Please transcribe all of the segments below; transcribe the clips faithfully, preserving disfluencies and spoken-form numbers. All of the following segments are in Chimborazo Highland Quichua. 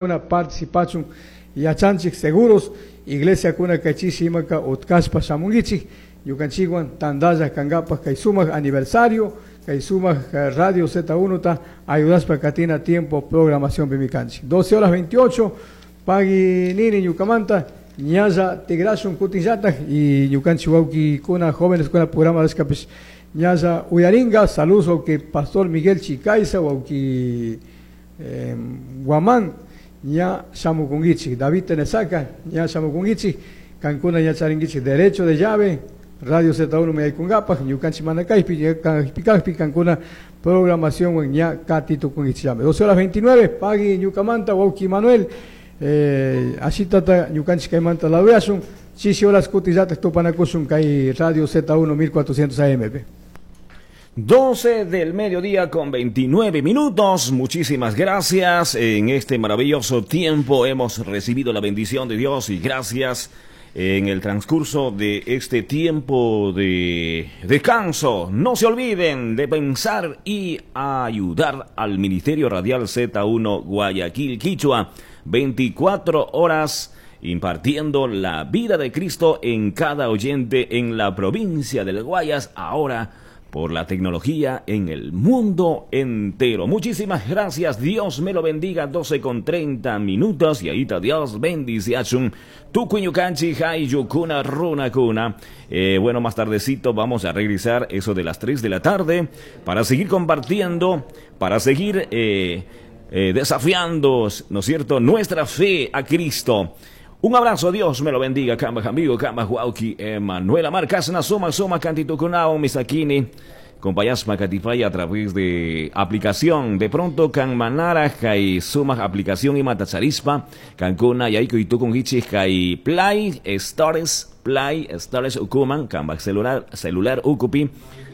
Participachun yachanchik seguros iglesia kuna kay chishi imaka utkashpa shamunkichik ñukanchikwan tandalla kankapaj kay sumak aniversario kay sumak Radio Z uno ta ayudashpa katina tiempo programación kanchik. doce horas veintiocho, pagui nini ñukamanta, ñalla tigrashun kutinllatak y ñukanchik wawkikuna jóvenes kuna programa rishkapish ñalla uyaringa. Saludos wawki pastor Miguel Chicaiza, wawki eh, Guamán, ña shamukunkichik, David Tenesaca, ña shamukunkichik, kankuna ña charinkichik derecho de llave Radio Z uno mayaykunkapaj, ñukanchik mana kaypi kajpi kankuna programación ña katitukunkichik llame. doce horas veintinueve, pagui ñukamanta, wawki Manuel, eh, ashitata ñukanchik kaymanta lawyashun, chishi horas kutillatak tupanakushun kay Radio Z uno mil cuatrocientos A M. doce del mediodía con veintinueve minutos. Muchísimas gracias. En este maravilloso tiempo hemos recibido la bendición de Dios y gracias en el transcurso de este tiempo de descanso. No se olviden de pensar y ayudar al Ministerio Radial Z uno Guayaquil Quichua. veinticuatro horas impartiendo la vida de Cristo en cada oyente en la provincia del Guayas, ahora por la tecnología en el mundo entero. Muchísimas gracias, Dios me lo bendiga. doce con treinta minutos y ahí está, Dios bendice. Tukuy ñukanchik ayllukuna runakuna. Eh, bueno, más tardecito vamos a regresar eso de las tres de la tarde para seguir compartiendo, para seguir eh, eh, desafiando, ¿no es cierto?, nuestra fe a Cristo. Un abrazo, Dios me lo bendiga. Kamba amigo, kamba wawki, Emanuela Marcasna, suma, suma, cantito kunao, misakini. Compañasma katipaya a través de aplicación. De pronto, kan manara, kay suma aplicación y matacharispa, kankuna, yaykuy tukunkichik, kay Play Stores, Play Stores ukuman, kamba celular, celular ukupi,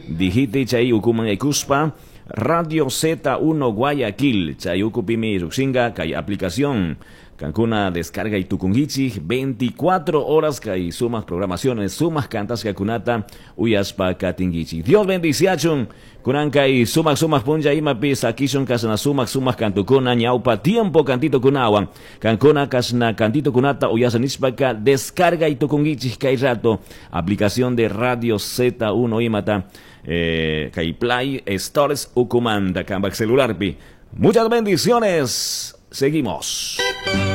dijite chay ukuman yaykuspa, Radio Z uno Guayaquil, chay ukupimi llukshinga, kay aplicación. Kankuna descarga y tukunkichik veinticuatro horas kay sumas programaciones, sumas kantashkakunata uyaspa katinkichik. Dios bendiciachun, kunan kay sumak sumak punlla imapi sakishun kasna sumak sumak kantukuna ñaupa tiempo cantito kunawan. Kankuna kasna cantito kunata uyasa nishpaka descarga y tukunkichik kay rato aplicación de Radio Z uno imata eh, kay Play Stores ukumanta kambak celularpi. Muchas bendiciones. Seguimos.